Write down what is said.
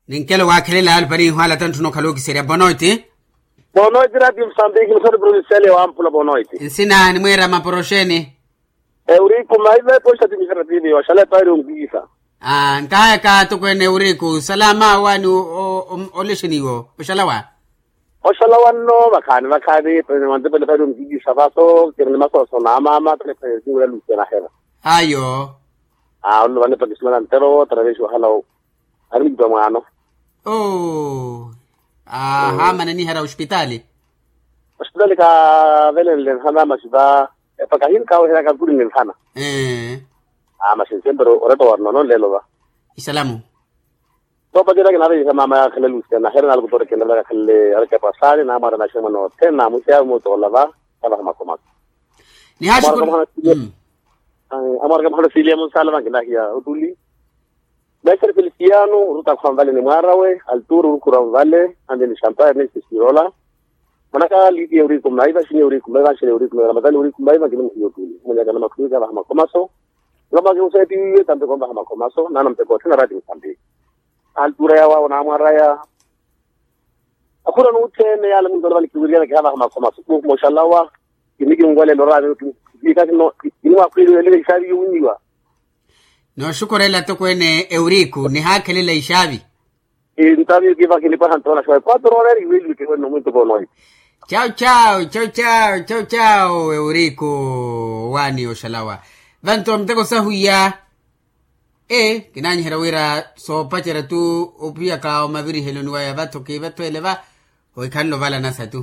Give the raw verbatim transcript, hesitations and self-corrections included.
Ninkelo waakhelela alupari inhwala tantthuna okhala okiserya bonoiti. Bonoiti rati msambiki msati provincial ya wampula bonoiti. Nsina nimweera maporoxeni. Euriku maive poxa timiserativi oxala epaari onkikisa. Nkahayaka atokweene euriku salama wani olexeni iwo oxala wa. Oxala wanno vakhaani vakhaani. Wantepele epaari onkikisa vaso kiri ni masooso na amaama tale epaari okinwela lusia nahera. Ayo. Aa ololo vanepa kisimana ntero taraveexi wahala. Ari mutwa mwaano. Oo. Aa haamana enihera ospitaali. Ospitaali kaavelenle nhana masi va epaka hinkaaweherya kakuli ni nhana. Aa masi nsempero oretta wa rinono nleelo va. Isalamu. Toopacerya kinaveyiha maama yaakhala lucia nahere nalukutorekenrela kakhalele arikapwasaani naamwaara naximwa nothene naamwixiya mutoola va. Kavaha makomaso. Nihaaxukula. Amwaraka muhana silia munsala vankinahiya otuli. Mestre feliciano orutakha onvale ni mwaarawe. Alturo orukhura onvale ande ni champagne ni sesirola. Manaka liti ya uriku maiva xini ya uriku maiva xini ya uriku maiva ramadhani uriku maiva nkiminihiya otuli munyakana makhulika vaha makomaso. Nlomba kimusetiwiwe tampe konvaha makomaso nana mpeko othena rati msambi. Altura yawawo namwaraya. Akhura nuthene yale mundu alava nikiwiriyana kihavaha makomaso kuhu moxalawa. Kinikinwalelo rani. Ikakino. Kinimwakhwililele ixavi yuwinyiwa. Nooxukurela tokweene euriku nihaakhelela ixavi. Intaviyu kiva kinipaha ntoona xawe quatro horas iweliwe kiwene nomuntu vonoyi. Chau chau chau chau chau chau euriku. Wani oxalawa vanto muteko sahuya. Ee kinaanyiherya wira soopacerya tu opiyaka omaviriheloni waya vatho kiivatho ele va. Ohikhanle ovala nasa tu.